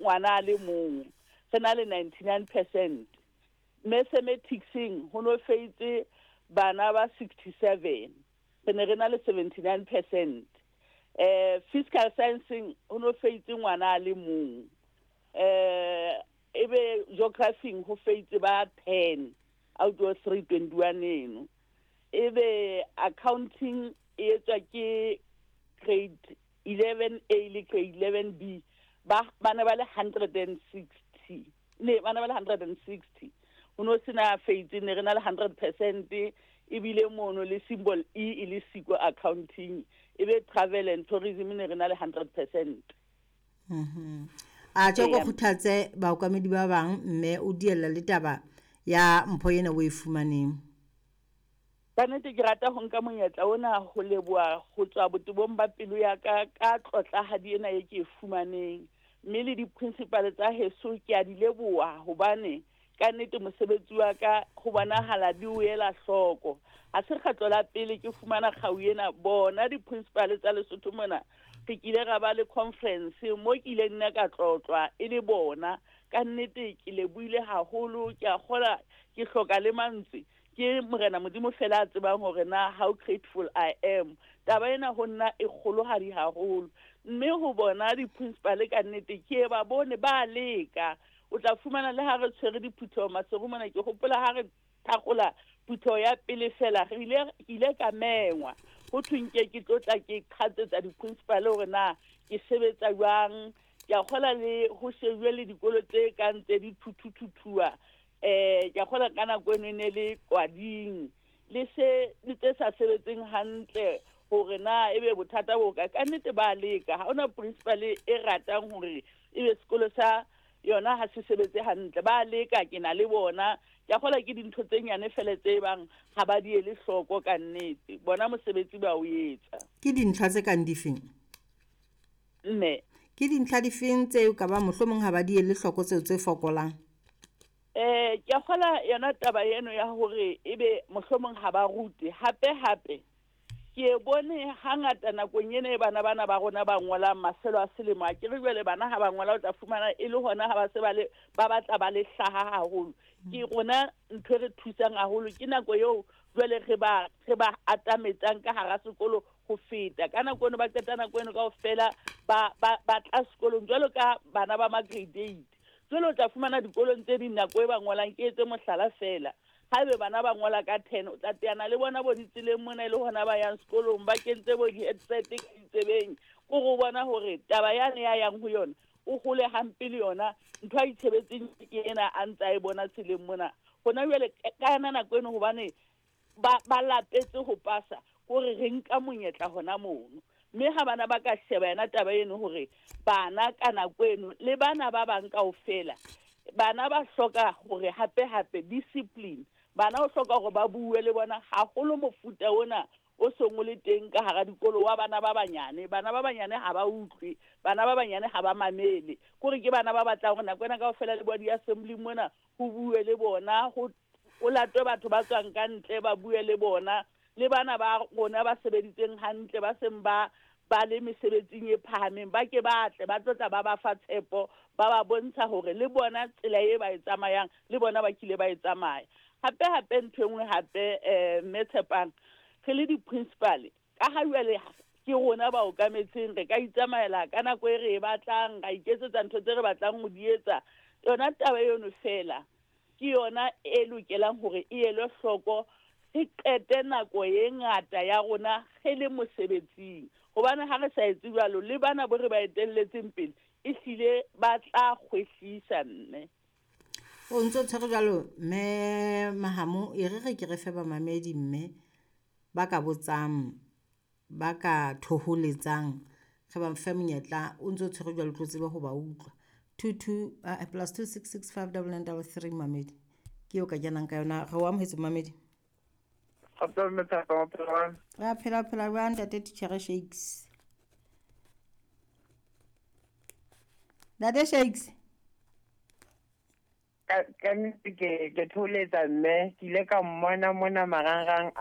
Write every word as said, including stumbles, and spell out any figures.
ngwana a le mong, re na le ninety-nine percent. Mathematicseng ho no feitse bana ba sixty-seven, re ne re na le seventy-nine percent. Eh, physical scienceng ho no feitse ngwana a le mong. Eh, ebe geography ho feitse ba ten out of three twenty-one eno. Ebe accounting e etswa ke grade eleven A le grade eleven B, ba bana ba le hundred and sixty. Ne bana ba le hundred and sixty. Ho no sena feitse, ne re na le hundred percent, ebile mono le symbol E e le siko accounting. Ebe travel and tourism ne re na le hundred percent. Mhm. A tjho Eya. go kgothatse baokamedi ba bang mme o diella le taba ya mpho ena o e fumaneng. Ka nnete ke rata ho nka monyetla ona ho leboha ho tswa botebong ba pelo ya ka ka tlotlahadi ena e ke e fumaneng. Mme le di-principal tsa heso ke a di leboha hobane ka nnete mosebetsi wa ka ho bonahala di o ela hloko. Ha se kgetlo la pele ke fumana kgau ena, bona di-principal tsa Lesotho mona re kile ra ba le conference mo ke ileng nna ka tlotlwa e le bona. Ka nnete ke lebohile haholo, ke a kgola ke hloka le mantswe. Ke Morena Modimo fela a tsebang hore na how grateful I am. Taba ena ho nna e kgolohadi haholo. Mme ho bona di-principal ka nnete ke ba bone ba leka. O tla fumana le ha re tshwere diphutheho Maseru mona, ke hopola ha re thakgola phutheho ya pele fela, re ile, ke ile ka mengwa. Ho thweng ke ke tlo tla ke qhatsetsa di-principal hore na ke sebetsa jwang. Ke a kgola le ho shebuwe le dikolo tse kang tse di thuthuthuthuwa. Eh, ke a kgola ka nako eno e ne le Kwading. Le se, le tse sa sebetseng hantle hore na ebe bothata bo kae. Ka nnete ba leka. Ha hona principal e ratang hore ebe sekolo sa yona ha se sebetse hantle. Ba leka, ke na le bona. Ke a kgola ke dintho tse nyane fela tse bang ha ba di ele hloko ka nnete. Bona mosebetsi ba o etsa. Ke dintlha tse kang difeng? Mme. Ke dintlha difeng tseo ka ba mohlomong ha ba di ele hloko tseo tse fokolang? Eh, ke a kgola yona taba eno ya hore ebe mohlomong ha ba rute. Hape hape ke e bone hangata nakong ena e bana bana ba rona ba ngolang mafelo a selemo. A ke re jwale bana ha ba ngola o tla fumana e le hona ha ba se ba le, ba batla ba le hlaha haholo. Ke rona ntho e re thusang haholo ke nako eo jwale re ba, re ba atametsang ka hara sekolo ho feta. Ka nako eno ba qeta nako eno kaofela ba, ba, ba tla sekolong jwalo ka bana ba ma grade eight. Jwale o tla fumana dikolong tse ding nako e ba ngolang, ke etse mohlala fela. Haebe bana ba ngola ka ten, o tla teana le bona bo ditseleng mona e le hona ba yang sekolong, ba kentse bo di-headset ka ditsebeng. Ke ho bona hore taba yane ya yang ho yona, o hole hampe le yona, ntho a itshebetseng ke ena a ntse a e bona tseleng mona. Hona jwale ka yona nako eno hobane ba, ba lapetse ho pasa, hore re nka monyetla hona mono. Mme ha bana ba ka sheba yona taba eno hore bana ka nako eno le bana ba bang kaofela, bana ba hloka hore hape hape discipline. Bana o hloka hore ba bue le bona haholo mofuta ona o seng o le teng ka hara dikolo wa bana ba banyane. Bana ba banyane ha ba utlwe, bana ba banyane ha ba mamele. Kore ke bana ba batlang hore nako ena kaofela le bo di-assembly mona ho bue le bona, ho, ho latwe batho ba tswang ka ntle ba bue le bona. Le bana ba rona ba sebeditseng hantle, ba seng ba, ba le mesebetsing e phahameng, ba ke ba tle, ba tlo tla ba ba fa tshepo, ba ba bontsha hore le bona tsela e ba e tsamayang, le bona ba kile ba e tsamaya. Hape hape ntho e nngwe hape, eh, mme Tshepang, re le di-principal, ka ha jwale ke rona ba okametseng, re ka itsamaela ka nako e re e batlang, ra iketsetsa ntho tse re batlang ho di etsa. Yona taba eno fela ke yona e lokelang hore e elwe hloko, re qete nako e ngata ya rona re le mosebetsing. Hobane ha re sa etse jwalo, le bana bo re ba etelletseng pele, ehlile ba tla kgwehlisa mme. O ntso tshwere jwalo, mme Mahamo, e re re ke re fe bamamedi mme ba ka botsang, ba ka thoholetsang, re ba fe monyetla. O ntso tshwere jwalo, o tlo tsebe ho ba utlwa. Two two, ah, plus two six six five double nine double three mamedi. Ke eo ka kenang ka yona. Re o amohetse mamedi. Kgotso mme Tshepo, o phela jwang? Re a phela, phela jwang ntate Titjhere Shakes? Ntate Shakes. Ka, ka nnete ke, ke thoholetsa mme, ke ile ka mmona mona marangrang